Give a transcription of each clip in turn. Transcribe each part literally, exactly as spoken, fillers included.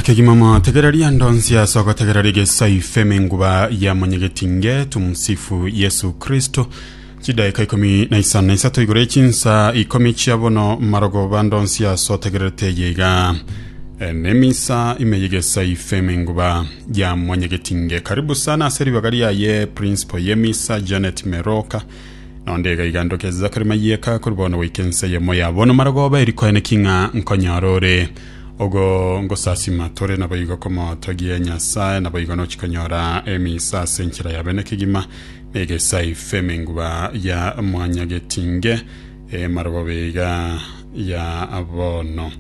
Kegima motegereria ndonsi ase ogotegereria Gesa F M enguba ya Mwanyagetinge. Tumsifu Yesu Kristo. Chidaika ikomi na isano na isato igoro chinsa ikomi chia bono marogoba. Ndonsi ase otegererete yeiga nemisa ime ye Gesa F M enguba ya Mwanyagetinge. Karibu sana ase ribaga riaye principal yemisa Janet Meroka nonde iga igandoke Zakari Mayeka kuri bono goika ense yemo ya bono marogoba erikoene king'a nkonyora ore ogo ngosasima tore nabo igo komotogie Nyasaye nabo igo nochikonyora emisa ase enchera ya bene kegima ne Gesa F M enguba ya Mwanyagetinge emarogoba iga ya bono.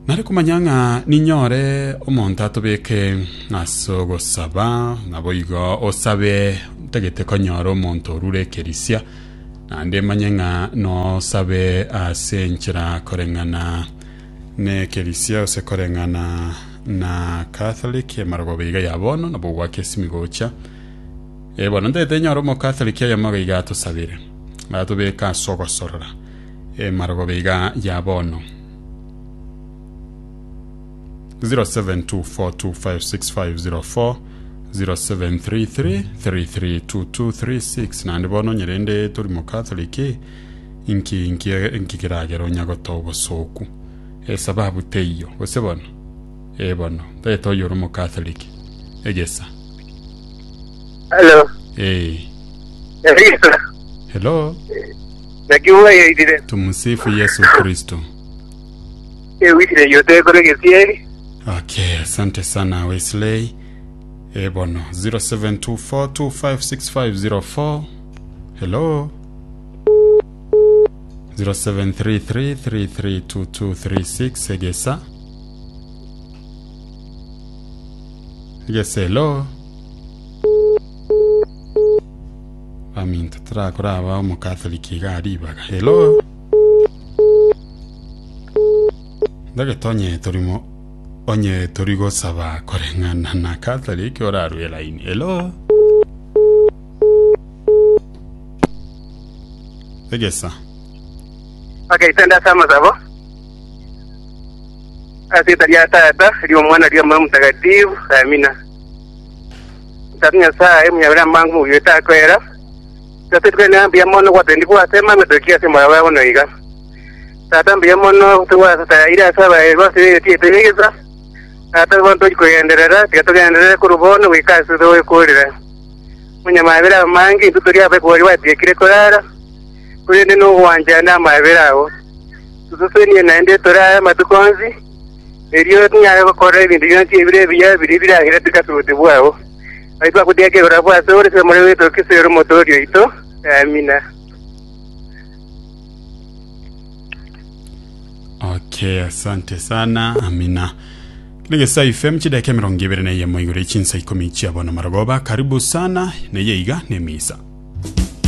Nare kumanya ng'a ninyore omonto atobeke ase ogosaba nabo igo osabe ntagete konyora omonto orure ekerisia naende manye ng'a nosabe ase enchera koreng'ana nekerisia ase koreng'ana na Catholic emarogoba iga ya bono nabo gwaka esimi gocha. E bono ntagete nyore omocatholic oyomo iga atosabere atobeka ase ogosorora emarogoba iga ya bono. zero seven two four two five six five zero four, zero seven three three three three two two three six. Naende bono nyerende tori mocatholic inki inki inki kiragera onya gotoa obosoku esababu teiyo gose bono e bono ntagete oyo ore omocatholic egesa. Hello. Eh. Elisa. Hello. Naki bwairire? Tumsifu Yesu Kristo. Ewikire yote kore gesieri. Okay, asante sana Wesley. E bono zero seven two four two five six five zero four. Hello. zero seven three three three three two two three six egesa. Egesa, hello. Baminto turakora aba omocatholic iga aribaga. Hello. Ndagete onye torimo onye tori gosaba koreng'ana na Catholic orarue line. Hello. Egesa. Okay, tenda sama sabo. Ase ria Tata, rio Mwana, rio Moyo Mtakatifu. Amina. Tatu Nyasaye munyabira mangu mubiyota kwera. Tatu twene mbiya mono gwatendi gwasema metokia sema yawe no iga. Tata mbiya mono tuwa ira saba rwase tietegeza. Tata bonto kugenderera tigatugenderera kurubono wikasi thowe kurira. Munyamabira mangi tuturia abe kwori watiekire kurara. Kurende no gwanja na mabira ago. Tutusenie naende turaya matukonzi. Erio tunyare gukora ebintu byonsi ebire ebiya biri birahira tukaturuti bwabo. Aitwa kutia kegora bwa sore se muri wetu kisero motorio ito. Amina. Okay, asante sana. Amina. Gesa F M chidakika mirongo ibere na yemo igoro chinsa ikomi chia bono marogoba. Karibu sana neye iga nemisa.